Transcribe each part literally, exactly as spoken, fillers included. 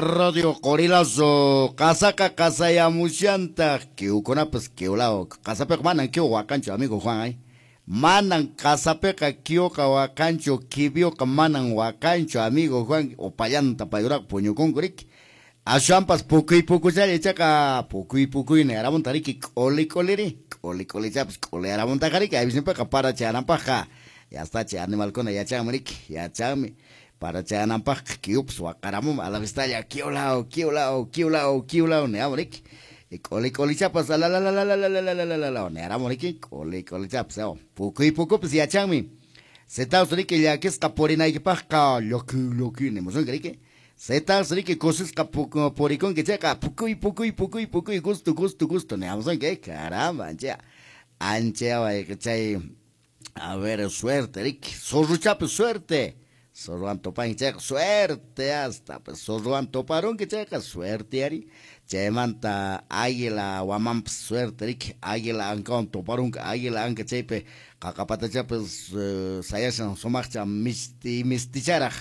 Radio Qorilazo, qasaqa qasayamushantaq, kiwkunapas kiwlaw, qasapiqa manan kiw waqanchu, amigo Juan, ay. Manan qasapiqa kiwqa waqanchu, kibyuqa manan waqanchu, amigo Juan, upallanta payuraqa puñukunku riki. Aswanpas pukuy pukuchalla ichaqa pukuy pukuyni aramunta riki k'uli k'uliri, k'uli k'ulichapas k'uli aramuntaqa riki, aypisninpiqa para chayananpaqqa, ya está chay animalkuna yachanmi riki, yachanmi. Para chayananpaqqa kiwpas waqaramunmi a la vistalla kiwlaw, kiwlaw, kiwlaw, kiwlaw niyamun riki. K'uli k'ulichapas alalalalalalalalalalalalaw niyaramun riki, k'uli k'ulichapas pukuy pukupis yachanmi. Setaus riki llakisqa purinaykipaqqa llaki llaki nimusunki riki. Setaus riki kusisqa purikunki chayqa pukuy pukuy pukuy pukuy gusto gusto gusto niyamusunki, caramba, ancha ancha chay a ver suerte riki, zorruchapis suerte. Zorruwan tupanki chayqa suerte hasta, pues zorruwan tuparunki chayqa suerte ari. Chaymanta águila wamanpas suerte riki, águila ankawan tuparunki, águila anka chaypi qaqapatachapis sayashan sumaqcha misti misticharaq,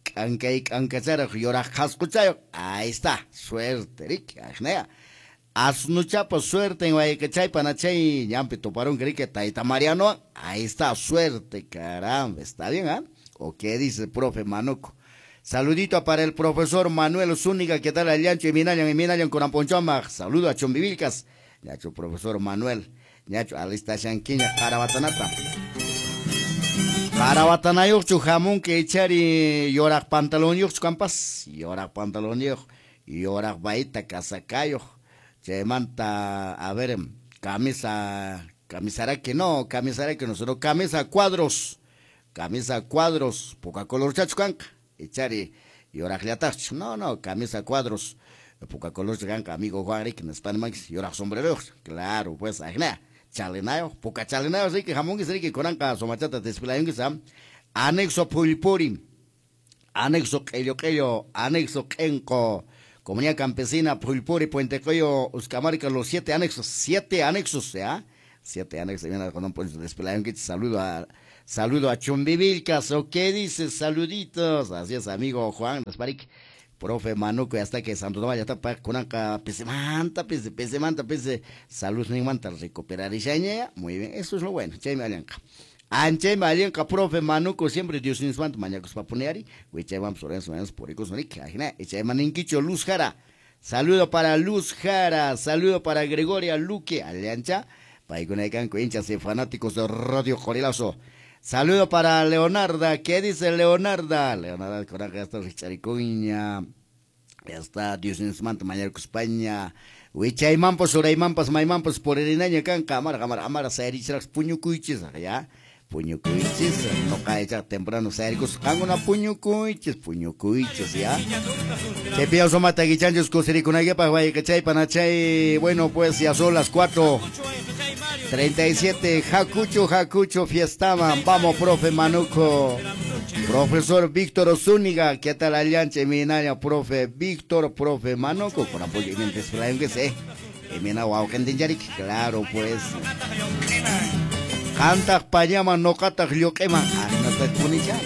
k'ankay k'ankacharaq yuraq qhasquchayuq, ahí está, suerte riki, ajnaya. Asnuchapa suerte en wayqechaypa chay ñanpi tuparunki riki tayta Mariano, ahí está, suerte, caramba, está bien, ¿ah? ¿eh? ¿O qué dice el profe Manuco? Saludito para el profesor Manuel Zúñiga, ¿qué tal? Allancho y Minayan y Minayan con Amponchoma. Saludo a Chumbivilcas. Ñacho, profesor Manuel. Ñacho, alista Shanquiña, Carabatanata. Carabatanayuqchu jamunque echari yoraq pantalonyuqchu kampas. Yoraq pantalonyuq, yoraq baita casacayuq. Chaymanta, a ver, camisa, camisaraki no, camisaraki no, sino camisa cuadros. Camisa cuadros, poca color chacho kanka, echari yoraqllataqchu, no, no, camisa cuadros, poca color kanka, amigo Juan Rick, nispanmanchis, yoraq sombrero, claro, pues, ajna, chalinayo, poca chalinayo, riki, jamunquis, riki, kunanqa sumachata despilayunquis, anexo Pulpuri, anexo Q'ello Q'ello, anexo Q'enqo, Comunidad Campesina, Pulpuri, Puente Coyo, Uscamarca, los siete anexos, siete anexos, ¿ya? Siete anexos, viene con un poncho despilayunquis, saludo a... Saludo a Chumbivilcas, ¿o qué dices? Saluditos. Así es, amigo Juan Gasparik, profe Manuco, ya está que Santo Tomás ya está pa kunanqa pisimanta, pisi, pisimanta, pisi, salud manta recuperar y muy bien, eso es lo bueno. Chaymi allanqa. Anchaymi allanqa, profe Manuco, siempre Dios nismanta mañakuspa puniari, wichaymanpas orenso mañakus purikus rik, ajina, ichayman ninkicho Luz Jara. Saludo para Luz Jara, saludo para Gregoria Luque, allancha, paykunaykanku hinchas y fanáticos de Radio Qorilazo. Saludo para Leonarda, ¿qué dice Leonarda? Leonarda, coraje, ya está Richaricuña, ya está Dios nismanta mañarkuspaña, wichaymampas, uraymampas, maymampas, purinaña kanka, amara, amara, amara, sayarichiraq puñukuychis, ya, puñukuychis, noqa echaq temprano sayarikus, qankuna puñukuychis, puñukuychis, ya. Chaypiyaw sumata guichanchis kusirikunaypaq, wayqechaypa nachay, bueno, pues ya son las cuatro treinta y siete, Jacucho, Jacucho, fiestaman, vamos, profe Manuco, profesor Víctor Zúñiga, ¿qué tal allanche, minaña, profe Víctor, profe Manuco, con apoyo y mientras que sé, mina wauqentincharik, claro, pues, qantaq pañaman, noqataq lluq'iman, ajnata punicha,